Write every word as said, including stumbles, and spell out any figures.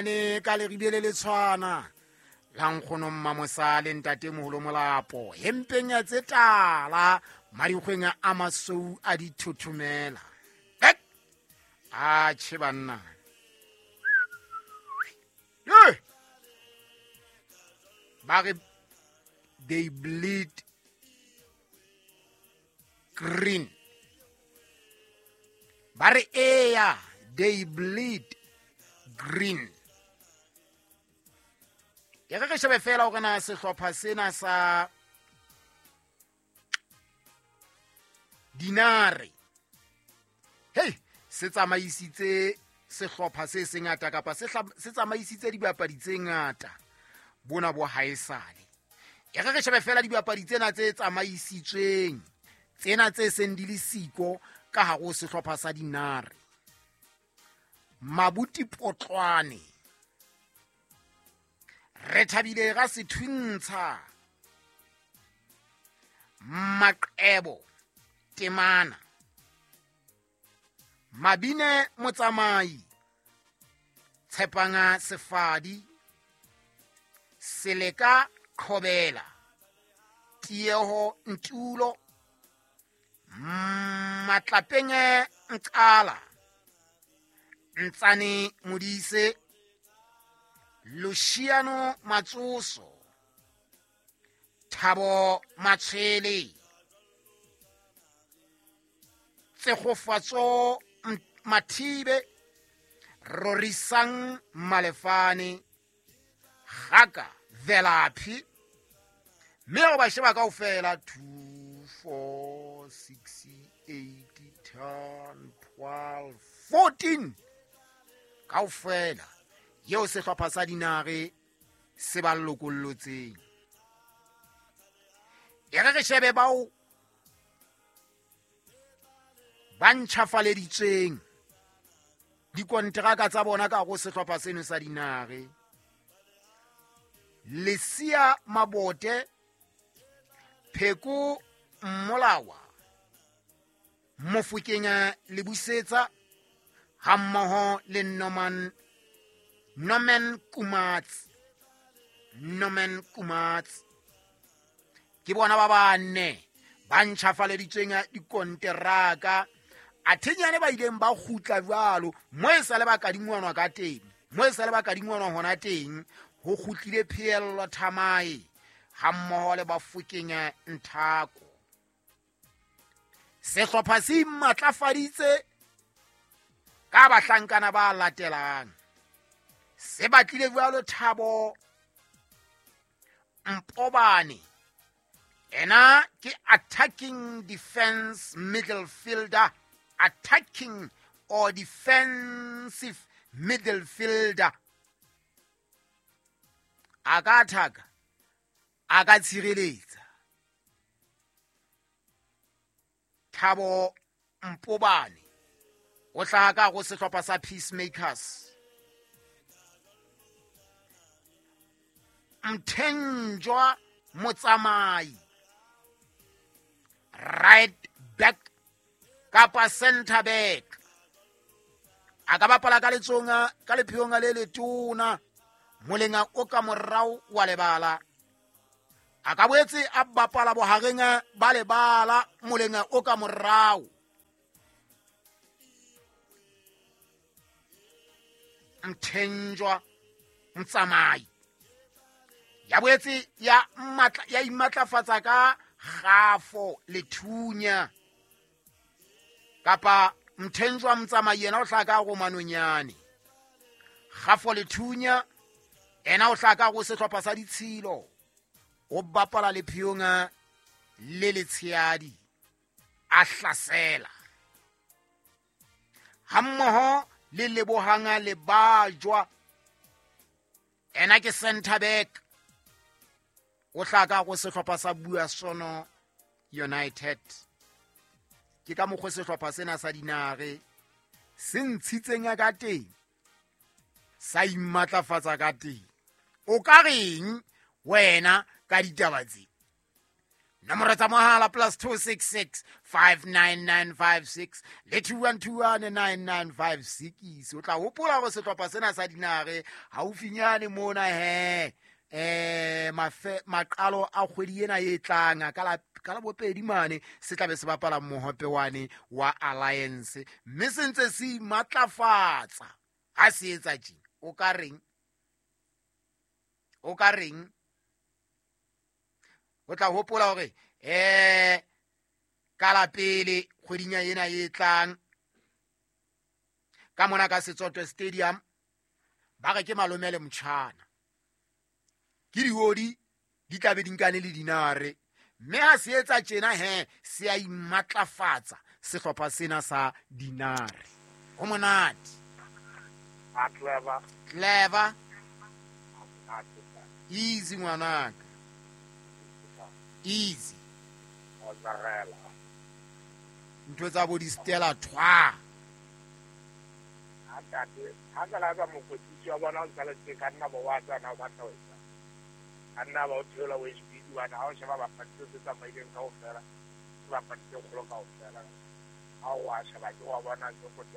Ne ka leribe le le tshwana la nkgono Mmamosa le ntatemoholo Molapo hempeng ya tse tala madikgweng a masou a dithothomela. A tjhe banna. Ba re they bleed green. Ba re eya they bleed green. E re re shebe fela hore na sehlopha sena sa Dinare hey se tsamaisitse sehlopha se sengata kapa se se tsamaisitse dibapadi tse ngata bona bo haesale. E re re shebe fela dibapadi tsena tse tsamaisitsweng tsena tse seng di le siko ka hare ho sehlopha sa Dinare. Mabuti Potlwane, re thabile ga sethuntsha, Maqebo Temana, Mabine Motsamai, Tshepanga Sefadi, Seleka Khobela, Tieho Ntulo, Matlapenge Nkala, Ntsane Modise, Luciano Matsoso, Thabo Matshele, Tsegofatso Mathibe, Rorisang Malefane, Gaka Velaphi. Mme o ba sheba kaofela two four six eight ten twelve fourteen kaofela yeo sehlopha sa Dinare se ba lokollotseng. E re re shebe bao ba ntjhafaleditsweng dikonteraka tsa bona ka go sehlopha seno sa Dinare. Lesia Mabote, Pheko Mmolawa, Mofokeng Lebusetsa hammoho le Norman Norman Kumats Norman Kumats ke bona ba bane ba ntjhafaleditsweng dikonteraka. Athenyane ba ileng ba kgutla jwalo mo e sale ba kadingwanwa ka teng, mo e sale ba kadingwanwa hona teng ho kgutlile Pheello Thamae hammoho le Bafokeng Nthako. Sehlopha se matlafaditse ka bahlankana ba latelang. Se batlile jwalo Thabo Mpobane, ena ke attacking defense middle fielder, attacking or defensive middle fielder. A ka attack, a ka tshireletsa. Thabo Mpobane o hlaha ka go sehlopha sa Peacemakers. Mthenjwa Motsamai, right back kapa center back, a ka bapala ka letsonga ka lepheong le letona molenga o ka morao wa lebala. A ka boetse a bapala bohareng ba lebala molenga o ka morao. Mthenjwa Motsamai ya boetse ya matla ya imatlafatsa ka Gafo Lethunya kapa Mthenjwa Motsamai yena o hlaka ka go Manonyane. Gafo Lethunya ena o hlaka go sehlopha sa Ditshilo, o bapala lepheong le letsheadi a hlasela hammoho le Lebohang le Bajwa, ena ke center back o hlaka go sehlopha sa Buasono United. Ke ka mokgwa sehlopha sena sa Dinare se ntshitseng ka teng, sa imatlafatsa ka teng. O ka reng wena ka ditaba tse? Nomoro tsa mohala plus two six six five nine nine five six le two one two one nine nine five six. O tla hopola hore sehlopha sena sa Dinare haufinyane mona he eh mafe maqalo a kgwedi ena e tlang ka la ka la bopedi mane se tlabe se bapala mohope wane wa Alliance, mme se ntse se matlafatsa. Ha se etsa tje o ka reng, o ka reng? O tla hopola hore eh ka la pele kgweding ena e tlang ka mona ka Setsoto Stadium ba re ke malome le motjhana, ke diodi di tlabe di nkane le Dinare, mme ha se etsa tjena he se a imatlafatsa sehlopha sena sa Dinare. Ho monate. A clever. Clever. Easy ngwanaka. Easy. Ntho tsa bo di Stella thwa. Ha tate, ha ka la ba mokwetlisi wa bona o ntsa le teng ka nna bo wa tsana o batla ho etsa. Ka nna ba o theola o H B wa na ha o sheba bapadi tse tsamaileng kaofela, ke bapadi tse kgolo kaofela. Ha o wa sheba ke wa bona ke go